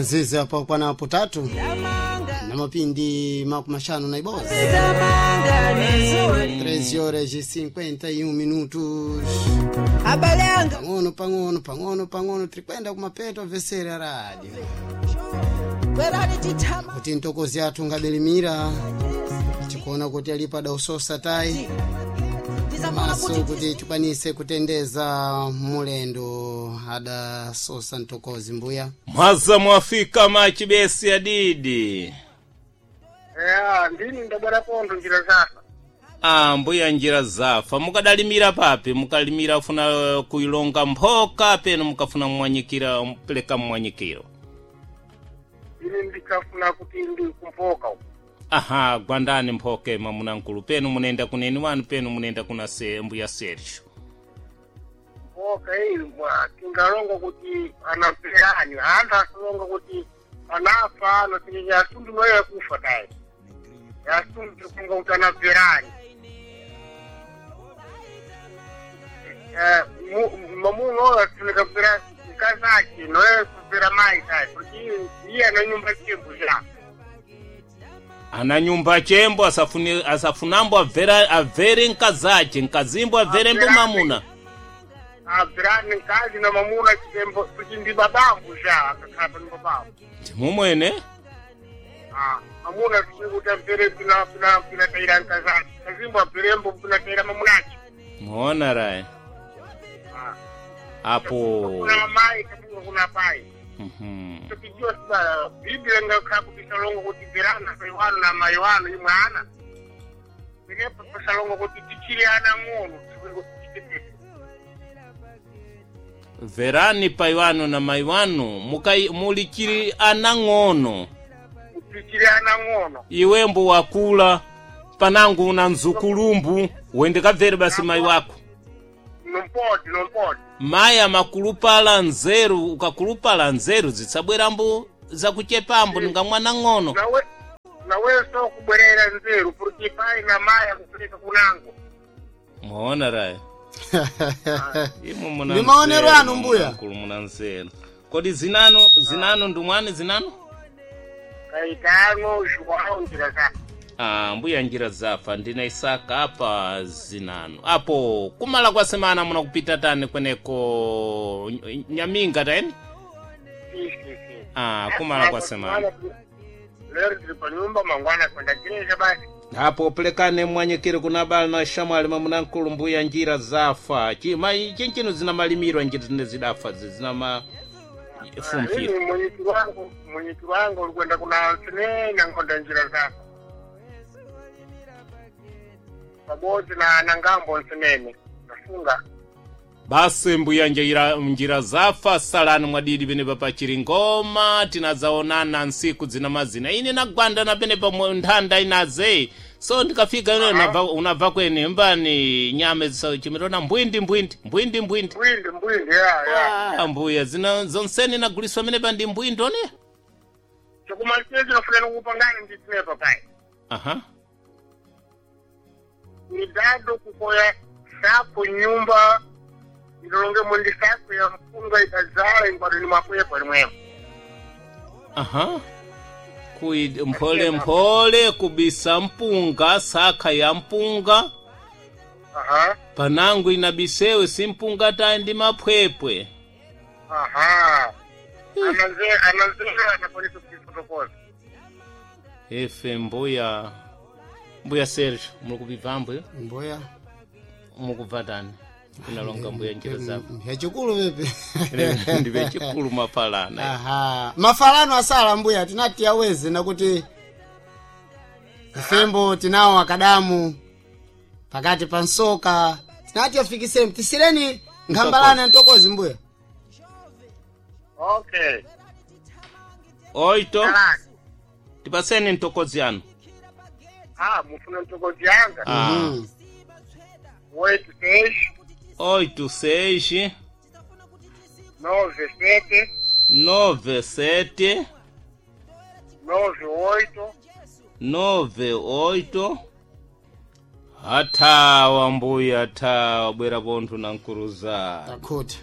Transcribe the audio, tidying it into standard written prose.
Nzizi apo kwanapo 3 na mapindi 51, 3 horas e 51 minutos. Abalanga. Pang'ono pang'ono pang'ono pang'ono tirikwenda kumapeto avesere a rádio Bwerani titama. Kuti ntokozi athu ngabelimira tikuona kuti alipo adausosa tayi Tizafuna maso kuti kuti tikwanise kutendeza mulendo adasosa ntokozi mbuya. Mwaza mwafika machibesi adidi. Ya, ndini ndabwera pondo njira zafa. Ah, mbuya njira zafa mukadalimira papi mukalimira funa kuilonga mphoka peno mukafuna mmwanyikira mpeleka mmwanyikiro. Ini ndikafuna kuti ndi kumpoka uko. Aha, gwandani mphoke mwamuna penu munenda kuneni wanu penu munenda kuna se, mbuya Sergio. Mpoka iyi mwa tingalonga kuti anamperani, anthu asalonga kuti anafa ano tinye asundu noyo yakufa tayi. Asundu tikunga kuti anamperani. Eh, mamuno oyo afunika kupera mkazi ake noyo kupera mayi tayi kuti iye ana nyumba chimbu cha. Ana nyumba chembo asafuni asafunambo avera avere nkazache nkazimbo avere mbo mamuna. Abvirani mkazi na mamuna chitembo kuti ndi babangu cha akakhala pa nyumba pawo. Ndimumwene Ah, mamuna tikuti amvere pina pina pina taira nkazake kazimbo abverembo pina taira mamunacho. muona raye Ah, apo. kuna mai katunga kuna pai. Tukijua sibala biblia ngakhala kuti salongo kuti bverana pai wanu na mai wanu imwe ana inepo pasalongo kuti tichiri ana ng'ono tikuti. Verani pai wanu na mai wanu mukai mulichiri ana ng'ono. Tichiri ana ng'ono. Iwembo wakula panangu una nzukulumbu wende kabvere basi mai wako. Nompoti nompoti. Mayi amakulupala nzeru ukakulupala nzeru zitsabwerambo zakuchepambo ninga mwana ng'ono. Nawe nawenso kubwerera nzeru kuti pai na mai akupereka kunango. Muona raye imwe muna Ndi maonero nzeru, anu, mbuya. mkulu muna nzeru. Kodi zinano zinano ndumwani zinano. Kaitano João njira zake. Ah, mbuya njira zafa ndina Isaka apa zinano apo kumala kwa semana muna kupita tani kweneko nyaminga tani. Si, si, si. Ah, kumala kwa semana. Lero tiri panyumba mangwana kwenda gereja basi. Apo pelekane mwanyikire kuna bala na shamwali mwamuna mbuya njira zafa chima chinchino zina malimirwa njira zine zidafa zina ma fumphira. Ini mwenyekiti wangu mwenyekiti wangu ulikwenda kuna sinenya nkonda njira zako pabodzi na ngambo nsinene nafunga. Basi mbuya njira zafa salani mwadidi pene pachiri ngoma tinazaonana nsiku zina mazina ine nagwanda na pene pa nthanda inaze so ndikafika ine unabva kwene mbani nyame chimirona mbwindi mbwindi mbwindi mbwindi. Mbwindi mbwindi ya ya. Ah, mbuya zina zonseni naguliswa mene pa ndi mbwindi one. Chokumaliza chinofanira kupangani ndi sinepa pai. Aha. Ni dado kukoya sako nyumba ilolonge mundi sako ya mpunga ikazala ingwado ni makwepo limwemo. Aha. Kui mphole mphole kubisa mpunga saka ya mpunga. Aha. Panangu inabisewe simpunga tayi ndi maphwepwe. Aha. Ananzera anapolisa kuchifotokoza. Efe mbuya mbuya Sergio mukubibva mbuya Mbuya. mukubva tani inalonga mbuya njira zako. Yachikulu pepe. Ndive chikulu mafalana. Aha. Mafalano asala mbuya tinati aweze nakuti ifembo tinawo akadamu pakati pa nsoka tinati afikiseni tisireni nkhambalana ntokozi mbuya. Okay. Oito Kalani. tipaseni ntokozi yanu. Ah, mufuna ntokozi yanga. Ah. 86 86 97 97 98 98. Athawa mbuya athawa bwera pontho na nkuruza. Takhuta.